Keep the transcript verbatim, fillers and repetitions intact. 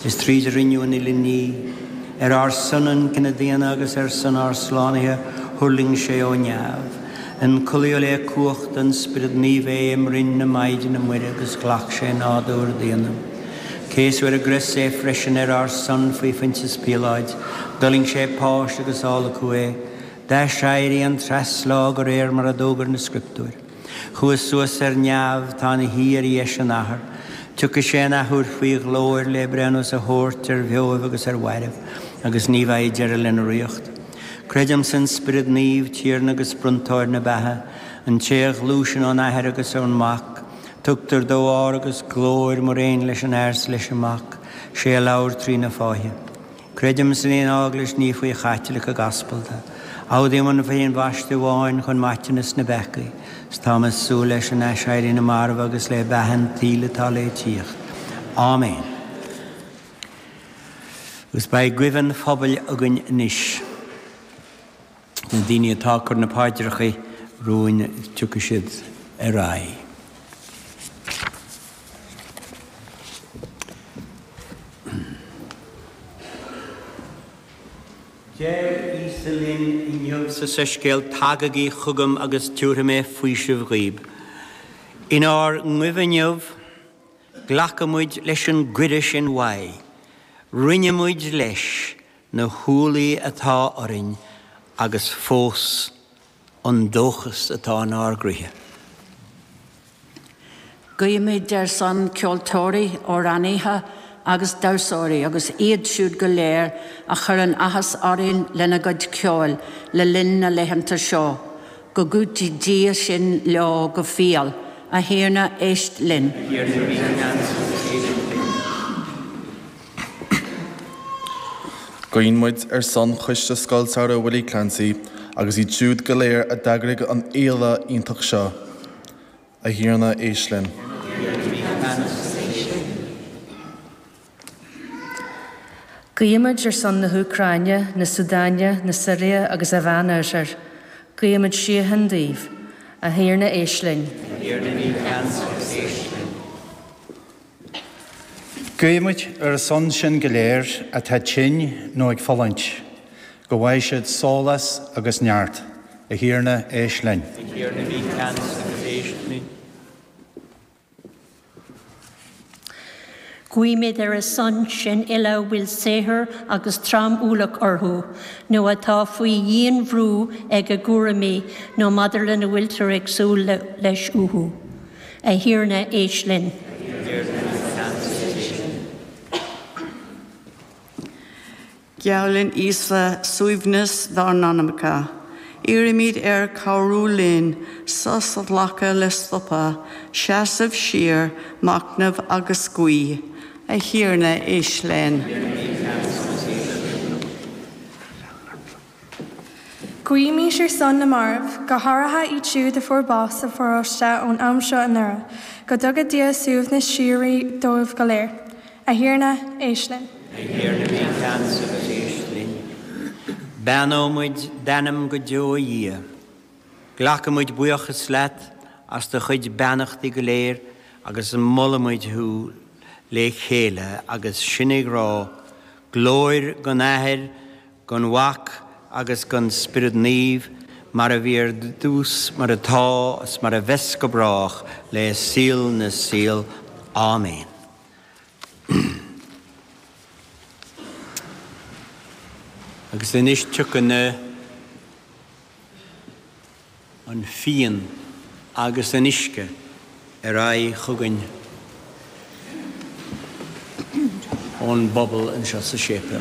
Is tríd a rinneadh an uile ní, ar ár son an cine daonna agus ar son ár slánaithe thuirling sé ó neamh. Ionchollaíodh le cumhacht an Spioraid Naoimh é i mbroinn na Maighdine Muire agus ghlac sé nádúr daonna. Céasadh ar an gcrois é freisin ar ár son faoi Phointias Píoláid, d'fhulaing sé páis agus adhlacadh é, d'aiséirigh an treaslá de réir mar a d'fhógair na Scrioptúir. Chuaigh suas ar neamh, tá ina shuí ar dheis an Athar. Tiocfaidh sé an athuair faoi ghlóir le breithiúnas a thabhairt ar bheoibh agus ar mhairbh, agus ní bheidh deireadh lena ríocht. Creidim san Spiorad Naomh, Tiarna agus Bronntóir na beatha, an té a ghluaiseann ón Athair agus ón Mac, tugtar dó ár agus glóir mar aon leis an Athair 's leis an Mac, sé a labhair trí na fáithe. Creidim san aon Eaglais Naofa Chaitliceach Aspalda. Admhaím an aon bhaisteadh amháin chun maiteanas na bpeacaí, 's táim ag súil leis an aiséirí na marbh agus le beatha an tsaoil atá le tíocht. Áiméan. Agus beidh guí an phobail againn anois. Na daoine atá ag cur na paidreacha romhainn tiocfaidh siad ar aghaidh. Deir Íosa linn inniu sa Soiscéal, Tagaigí chugam agus tiúrfaidh mé faoiseamh dhaoib. Inár nguibh inniu, glacann muid leis an gcuireadh sin uaidh. Roinneann muid leis na hualaí atá orainn agus fós an dóchas atá inár gcroíthe. Guímid ar son ceoltóirí, amhránaithe agus damhsóirí agus iad siúd go léir a chuireann áthas orainn lena gcuid ceoil le linn na laethanta seo, go gcúití Dia sin leo go fial. A Thiarna, éist linn. A Thiarna, bí ceansa agus éist linn. Guíonn muid ar son Choiste Scoil Samhraidh Willie Clancy agus iad siúd go léir a d'eagraigh an fhéile iontach seo. A Thiarna, éist linn. A Thiarna, bí ceansa agus éist linn. Guímid ar son na hÚcráine, na Súdáine, na Siria agus an Mheánoirthir. Guímid síocháin daoibh. A Thiarna, éist linn. A Thiarna, bí ceansa agus éist linn. Guímid ar a son sin go léir atá tinn nó ag fulaingt, go bhfaighidh siad sólás agus neart. A Thiarna, éist linn. A Thiarna, bí ceansa agus éist linn. Guímid ar a son sin uile a bhfuil saothar agus trom-ualach orthu, nó atá faoi dhianbhrú ag a gcúraimí nó maidir lena bhfuiltear ag súil leis uathu. A Thiarna, éist linn. A Thiarna, bí ceansa agus éist linn. Geallann Íosa suaimhneas dár n-anamacha. Iarraimid air cabhrú linn sos a ghlacadh le stopadh, seasamh siar, machnamh agus guí. A Thiarna, éist linn. A Thiarna, bí ceansa agus éist linn. Guímis ar son na marbh, go háirithe iad siúd a fuair bás sa pharóiste ón am seo anuraidh, go dtuga Dia suaimhneas síoraí dóibh go léir. A Thiarna, éist linn. A Thiarna, bí ceansa agus éist linn. Beannóimid d'ainm go deo, a Dhia. Glacaimid buíochas leat as do chuid beannachtaí go léir agus molaimid thú le chéile agus sinn ag rá, Glóir don Athair, don Mhac agus don Spiorad Naomh, mar a bhí ar dtús, mar atá, is mar a bheas go brách, le saol na saol. Áiméan. Agus anois tiocfaidh na an fíon agus an uisce ar aghaidh chugainn ón bpobal anseo sa séipéal.